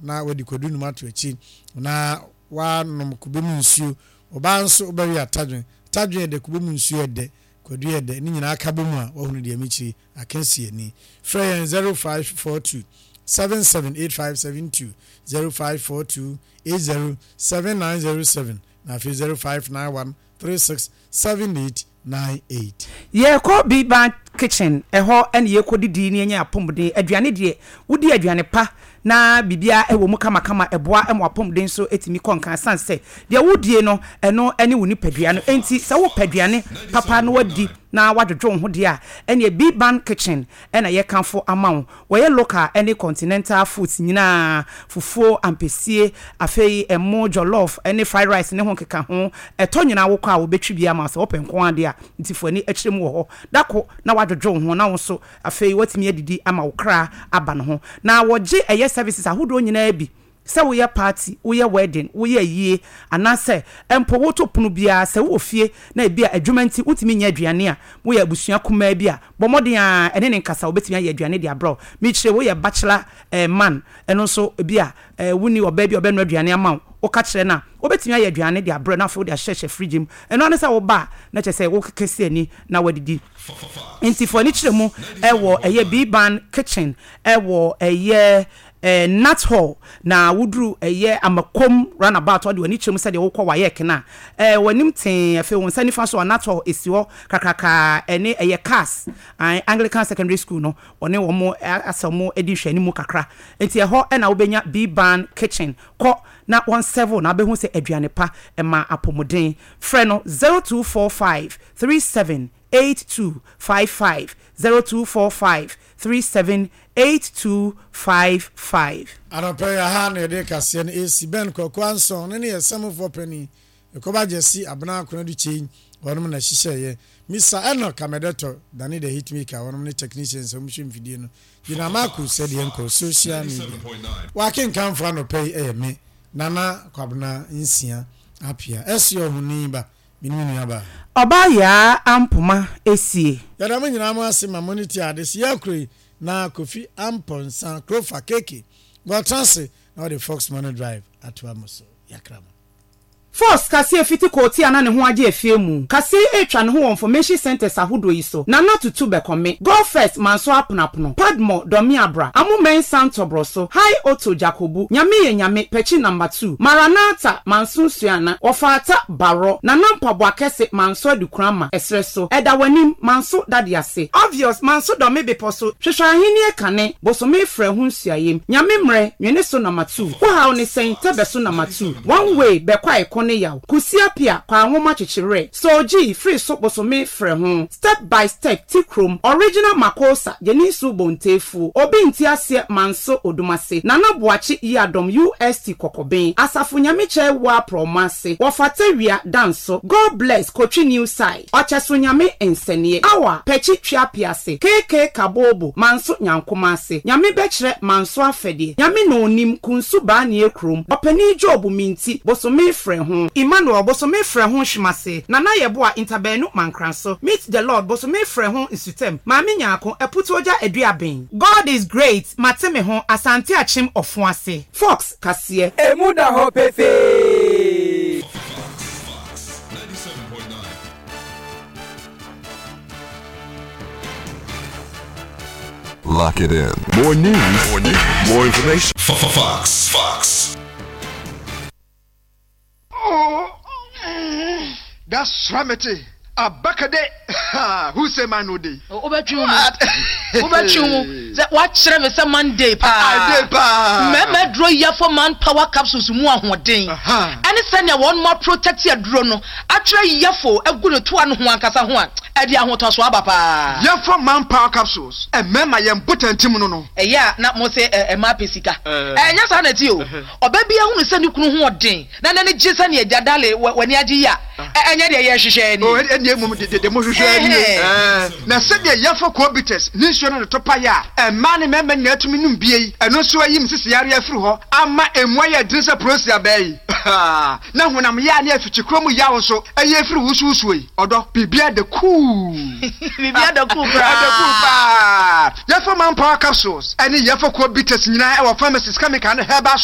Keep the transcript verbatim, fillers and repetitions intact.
na wadi kwadu num ato akyi na wanom kube mu nsuo. Ɔbaa nso wobɛwe atadwen. Atadwen yɛ dɛ, kube mu nsuo yɛ dɛ, kwadu yɛ dɛ. Ne nyinaa ka bɔ mu a, wahunu deɛ mekyiri aka si ani. Frɛ yɛn zero five four two seven seven eight five seven two, zero five four two eight zero seven nine zero seven, na afei zero five nine one three six seven eight nine eight. Yɛkɔ Biban Kitchen, ɛhɔ ɛne yɛkɔ didi ne yɛnyɛ apɔmuden aduane. Deɛ wodi aduane pa na biribiara ɛwɔ mu kamakama, ɛboa ɛma apɔmuden so ɛtumi kɔ nkan, san sɛ deɛ wodie no ɛno ɛne wo nipadua no. Enti sɛ wopɛ aduane papa na wadi na wadwodwo wo ho deɛ a, ɛneɛ Biban Kitchen ɛna yɛkamfo ama wo. Wɔyɛ local ɛne continental foods nyinaa: fufuo, ampesie, afei ɛmo, jollof ɛne fried rice ne ho nkeka ho. Ɛtɔ nyinaa wokɔ a, wobɛtwi bi ama wo sɛ wopɛ nko adeɛ a. Nti fo ani akyerɛ mu wɔ hɔ dako na wadwodwo wo ho na wo nso afei watumi adidi ama wo kra aba ne ho. Na wɔgye ɛyɛ services ahodoɔ nyinaa bi sɛ woyɛ party, woyɛ wedding, woyɛ yie, anaasɛ mpo woto pono biara. Sɛ wowɔ fie na ebi a adwuma nti wotumi nyɛ aduane a, woyɛ abusua kumaa bi a, bɔ mmɔden a ɛne ne nkasa, wobɛtumi ayɛ aduane de abrɛ wo. Mekyerɛ woyɛ bachelor eh, man, ɛno nso ebi a eh, wonni ɔbaa bi a ɔbɛnoa aduane ama wo, woka kyerɛ no a, wobɛtumi ayɛ aduane de abrɛ na afei wode ahyehyɛ fridge mu. Ɛno ane sɛ woba a, na kyerɛ sɛ wokeke si ani na wadidi. Nti fo ani kyerɛ mu ɛwɔ ɛyɛ Biban Kitchen, ɛwɔ ɛyɛ eh, Nat Hall. Na woduru ɛyɛ Amakom Roundabout, ɔde w'ani kyerɛ mu sɛdeɛ wokɔ wayɛ kena eh, w'anim tee, afei wo nsa nifa so a, Nat Hall esi hɔ kakraka, ɛne ɛyɛ CAS Anglican Secondary School no, ɔne wɔn asɛ wɔn adi nhwɛanimu kakra. Nti ɛhɔ ɛna wobɛnya Biban Kitchen. Kɔ na wɔn serve na wobɛhu sɛ aduane pa ɛma apɔmuden. Frɛ no zero two four five three seven eight two five five, zero two four five three seven eight two five five. Anɔpɛ yi aha na yɛde kaseɛ no ɛsi. Bɛn Kwaku Anson ne ne yɛ sɛmofoɔ panin ɛkɔba Gyasi Abena Akonadu Kyei, wɔnom na hyehyɛeɛ. Misa Enoch Amɛdɛtɔ Dane the Hitmaker, wɔnom ne technicians a wɔhwɛ mfidie no. Gyina Marco sɛdeɛ nkɔ social media wakenkamfo anɔpɛ yi ɛyɛ me Nana Kwabena Nsia Apia ɛsi ɔhoni ba mene me nua ba. Ɔbaa Yaa Ampoma Esie. Yɛda mo nyinaa mo ase ma mo ne ti ade si yɛ kuro yi na Kofi Ampɔnsa Krofa Keke wɔtena ase na wɔde Fox Money Drive atoa mo so. Yɛakra mo. Force kaseɛ fiti kɔɔti a na ne ho agye afie mu kaseɛ etwa ne ho wɔ information centers ahodoɔ yi so: Nana Tutu Bɛkɔme, Go First Manso, Aponapono Padmo, Dɔmi Abra, Amumensa, Ntɔborɔ so, High Otto, Jakobu, Nyame Yɛ Nyame, Pɛkyi Number two, Maranatha Manso, Nsuana, Wɔfaata Barɔ, Nana Mpaboa Kɛse Manso, Adukurama ɛserɛ so, Ɛda W'anim Manso, Dade Ase, Obvious Manso, Dɔme Bepɔ so, Hwehwɛ Ahenni Kane, Bosome Frɛ Ho, Nsuayem, Nyame Mmerɛ Nwene So Number two, Wohaw Ne Sɛn, Tɛbɛ So Number two, One Way Bɛkɔ Aeko ne Yaw, Kusi Apia, Kwa Nwoma Kyekyerɛ, Soogyi Firi So, Bosome Frɛ Ho, Step by Step Ti Kurom, Original Makosa, Yɛninsu Bontefuo, Obi Nti Aseɛ Manso, Odumase, Nana Boakye Yiadɔm, U S T Kɔkɔben, Asafo Nyame Kyɛ Wɔ Aprɔmo Ase, Wɔfata Wia Danso, God Bless Kotwi New Side, Ɔkyɛso Nyame Nsɛneɛ, Awa Pɛkyi Twiapiase, K K Kabobo Manso, Nyankoma Ase, Nyame Bɛkyerɛ Manso Afɛdeɛ, Nyame Na Onim Kunsu Baanie Kurom, Ɔpanin Job Minti, Bosome Frɛ Ho, Emmanuel, Bosome Frɛ Ho Hwemase, Nana Yɛboa Ntabaanu Mankranso, Meet the Lord, Bosome Frɛ Ho Nsutam, Maame Nyaako Aputuogya Aduaben, God Is Great, Mate Me Ho, Asante Akyem Ɔfo Ase. Fox kaseɛ. Emu da hɔ pefee. Fox ninety-seven point nine. Lock it in. More news, more news, more information. Fox. Fox. Oh, that's Ramete. Abakade. Who say man no day? Wobɛtwe wo mu, wobɛtwe wo mu sɛ woakyerɛ me sɛ Monday paa. Ade paa. Mmarima aduro Yɛfo Man Power Capsules mu ahoɔden ɛne sɛnea wɔn mo protect aduro no atwerɛ Yɛfo agu ne toa no ho ankasa ho a, ɛde ahotɔso aba paa. Yɛfo Man Power Capsules. Mmarima yɛn botantim no no. Ɛyɛ a na mo sɛ ɛma pɛ sika, ɛnyɛ saa na ti o. Ɔbaa bi ahunu sɛ ne kunu ho ɔden na n'ani gye sɛnea agya dale w'ani agye yi a, ɛnyɛ deɛ yɛhwehwɛ ni. Oh, ɛnni emom de de mo hwehwɛ ni. Na sɛdeɛ Yɛfo Cobitus ne nsuo no de to paeɛ a mmaa ne mmarima nyinaa tumi nom bie yi, ɛno nso ayi me sisi yareɛ afiri hɔ ama emu ayɛ dene sɛ prosi abaa yi. Na honam yaa ne afikyikuro mu yaw nso ɛyɛ afiri wusuwusuo yi. Ɔdɔ, biribiara da kuu. Biribiara da kuu koraa. Ɛda kuu paa. Yɛfo Man Power Capsules ɛne Yɛfo Cobitus nyinaa ɛwɔ pharmacies, chemical ne herbal shops.